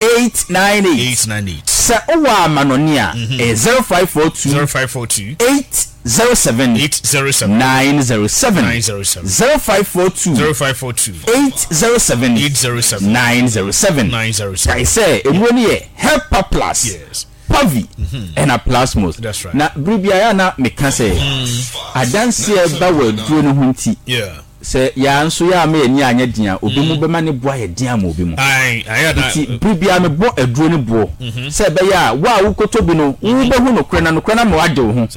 898. 898. Sɛ wowɔ amanɔne a, ɛyɛ 0542. 0542. 807. 807. 907. 907. 0542. 0542. 807. 807. 907. 907. Kae sɛ nnuro no yɛ Helper Plus, Yes. Pavi, ɛna Plasmos. That's right. Na bere biara a na meka sɛ adanseɛ ba wɔ aduro no ho nti, Yeah. Sɛ yɛn nso yɛamma yɛn ani anyɛ den a, obi mu bɛma ne bo ayɛ den ama obi mu. Enti bere biara mebɔ aduro no boɔ sɛ ɛbɛyɛ a wo a wokɔtɔ bi no, wobɛhu nokorɛ na nokorɛ no ama woade wo ho.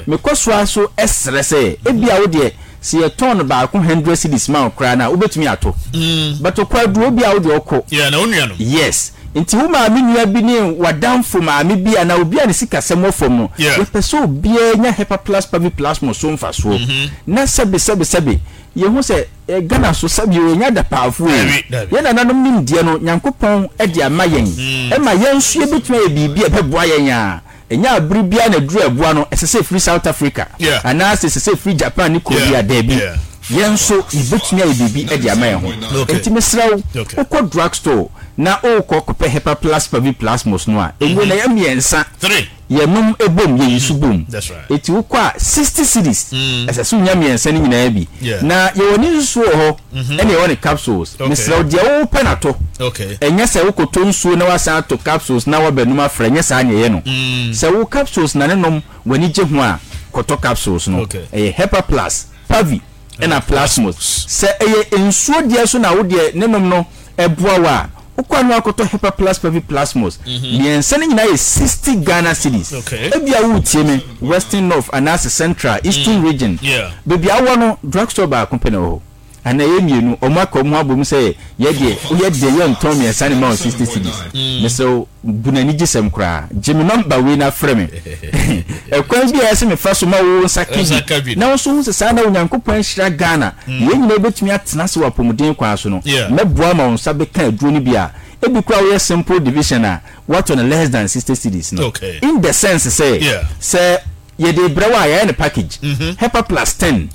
Mekɔ so ara nso srɛ sɛ ebia wo deɛ, sɛ yɛtɔn no baako hundred cedis ma wo koraa no a, wobɛtumi atɔ. But ɔkɔ aduro, ebia wo deɛ ɔkɔ. Yes. Nti wo maame nua bi ne w'adamfo maame bi anaa obi a ne sikasɛm wɔ fam no, yɛpɛ sɛ obiara nya Hepaplus paviplasmos so mfasoɔ. Na sɛbe sɛbe sɛbe, yɛhu sɛ Ghana so sɛbe o, yɛnyɛ adapaafoɔ o, yɛn nananom nimdeɛ no Nyankopɔn de ama yɛn, ɛma yɛn nso yɛbɛtumi ayɛ biribi a ɛbɛboa yɛn a, ɛnyɛ abere biara na aduru a ɛboa no ɛsɛ sɛ ɛfiri South Africa anaasɛ ɛsɛ sɛ ɛfiri Japan ne Korea, daabi, yɛn nso yɛbɛtumi ayɛ biribi de ama yɛn ho. Enti mesrɛ wo, wokɔ drug store na worekɔ kɔpɛ Hepaplus Paviplasmos no a, nnuro no ɛyɛ mmiɛnsa, yɛnom bom, yɛyi so bom. Enti wokɔ a, 60 cedis, ɛsɛ sɛ wonya mmiɛnsa no nyinaa bi. Na yɛwɔ ne nsuo wɔ hɔ, ɛna yɛwɔ ne capsules. Mesrɛ wo, deɛ wopɛ na tɔ. Ɛnyɛ sɛ wokɔtɔ nsuo na woasan atɔ capsules na woabɛnom afra, ɛnyɛ saa na yɛyɛ no. Sɛ wo capsules na ne nom w'ani gye ho a, kɔtɔ capsules no. Ɛyɛ Hepaplus, Pavi, ɛna Plasmos. Sɛ ɛyɛ nsuo deɛ nso na wo deɛ ne nom no boa wo a, wokɔ a na woakɔtɔ Hepaplus, Pavi, Plasmos. Mmiɛnsa no nyinaa yɛ 60 Ghana cedis. Ebia woretie me Western North anaasɛ Central, Eastern Region, baabi a wowɔ no, drugstore baako pɛ na ɛwɔ hɔ. Anaa ɛyɛ mmienu, wɔn aka wɔn ho abom sɛ yɛ deɛ, woyɛ deɛ yɛntɔn mmiɛnsa ne ma wo 60 cedis. Mesrɛ wo, bu no anigyesɛm koraa. Gye me nɔmba wei na frɛ me. Ɛkwan bi a ɛyɛ sɛ mefa so ma wo nsa ka bi, na wo nso hu sɛ saa na Onyankopɔn ahyira Ghana, na yɛn nyinaa bɛtumi atena ase wɔ apɔmuden kwan so no, mɛboa ma wo nsa bɛka aduro no bi a, ebi koraa woyɛ simple division a, woatɔ no less than 60 cedis no. In the sense sɛ, sɛ Yɛde rebrɛ wo a, yɛayɛ no package. Hepa plus ten,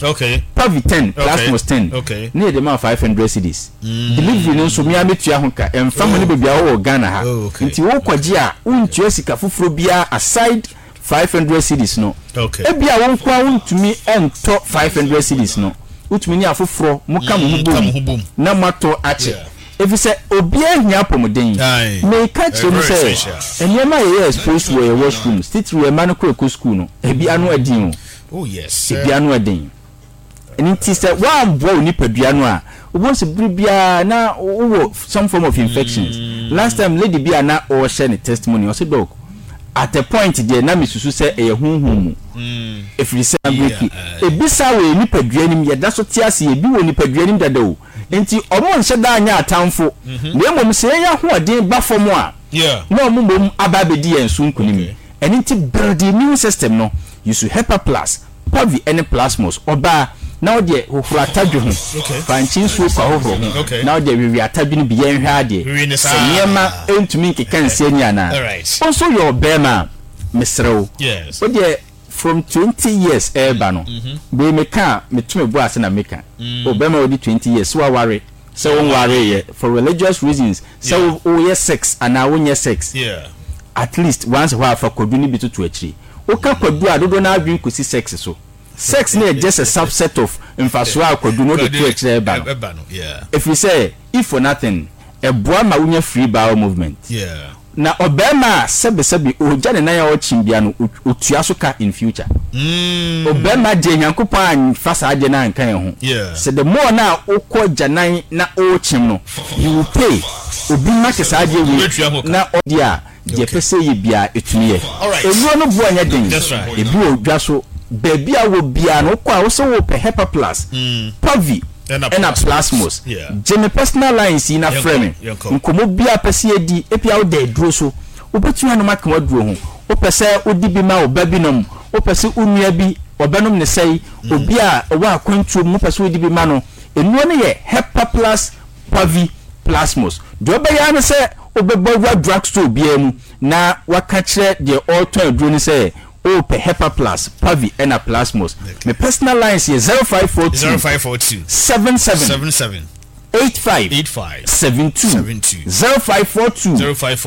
Pavi ten, Plasmos ten, ne yɛde ma wo 500 cedis. Delivery no nso, me ara mɛtua ho ka, ɛmfa ho ne baabi a wowɔ wɔ Ghana ha. Nti worekɔgye a, wontua sika foforɔ biara aside 500 cedis no. Ebia wo nko ara wontumi ntɔ 500 cedis no, wotumi ne afoforɔ moka mo ho bom na moatɔ akyɛ. Efisɛ obiara hia apɔmuden. Meka kyerɛ mu sɛ, nneɛma a yɛyɛ exposed wɔ yɛn washrooms, titiriw yɛn mma no kɔ ɛkɔ sukuu no, ebi ano ɛden o. Ebi ano ɛden. Ɛno nti sɛ woamboa wo nipadua no a, wobɛhu sɛ bere biara na wowɔ some form of infections. Last time lady bi a na ɔrehyɛ ne testimony, ɔse doc, at a point deɛ na mesusu sɛ ɛyɛ honhom mu. Ɛfiri sɛ, ebi saa wɔ yɛn nipadua no mu, yɛda so te ase, ebi wɔ nipadua no mu dada o. Enti wɔnhyɛ da nyɛ atamfo, na mmom sɛ yɛn ahoɔden ba fam a, na wɔn mmom aba abɛdi yɛn so nkonim. Ɛno nti build immune system no, use Hepa Plus, Pavi ne Plasmos. Ɔbaa, na wo deɛ hohoro atadwe ho, fa nkye nsuo kɔ ahohoro ho, na wo deɛ wewe atadwe no bi, yɛnhwɛ adeɛ sɛ nneɛma ntumi nkeka nsi ani anaa. Wo nso woyɛ ɔbarima a, mesrɛ wo, wo deɛ From 20 years ɛɛba no, wei meka a meto me bo ase na meka. O bɛrima a wadi 20 years, sɛ waware, sɛ wonwareeɛ, for religious reasons, sɛ woyɛ sex anaa wonyɛ sex, at least once a while fa kwadu no bi toto akyiri. Woka kwadu a, dodoɔ no ara adwene kɔsi sex so. Sex no yɛ just a subset of mfasoɔ a kwadu no wode to akyire a ɛba no. Ɛfiri sɛ, if for nothing, ɛboa ma wonya free bowel movement. Na ɔbarima a sɛbesɛbe ogya ne nan a ɔkyen bia no otua so ka in future. Ɔbarima deɛ Nyankopɔn anfa saa adeɛ no anka yɛn ho. Sɛ the more no a wokɔ gyanan na okyem no you will pay. Obi make saa adeɛ wei na ɔdeɛ a deɛ ɛpɛ sɛ ɛyɛ biara ɛtumi yɛ. Nnuro no boɔ nyɛ den. Ebi wɔ dwa so. Baabi a wowɔ biara no wokɔ a wose wopɛ Hepaplus, Pavi, ɛna Plasmos. Gye me personal lines yi na frɛ me. Nkɔmmɔ biara a wopɛ sɛ yɛdi, ebia woda aduro so, wobɛtumi anom aka w'aduro ho. Wopɛ sɛ wode bi ma wo ba bi nom, wopɛ sɛ wo nua bi ɔbɛnom ne sɛe, obi a ɔwɔ akwantuo mu wopɛ sɛ wode bi ma no. Nnuro no yɛ Hepaplus Pavi Plasmos. Deɛ wobɛyɛ ara ne sɛ wobɛbɔ awura drugstore biara mu na woaka kyerɛ deɛ ɔretɔn aduro no sɛ Wopɛ Hepaplus, Pavi ɛna Plasmos. Me personal lines yɛ 0542 0542 77 77. 85 85 72 72 0542 05.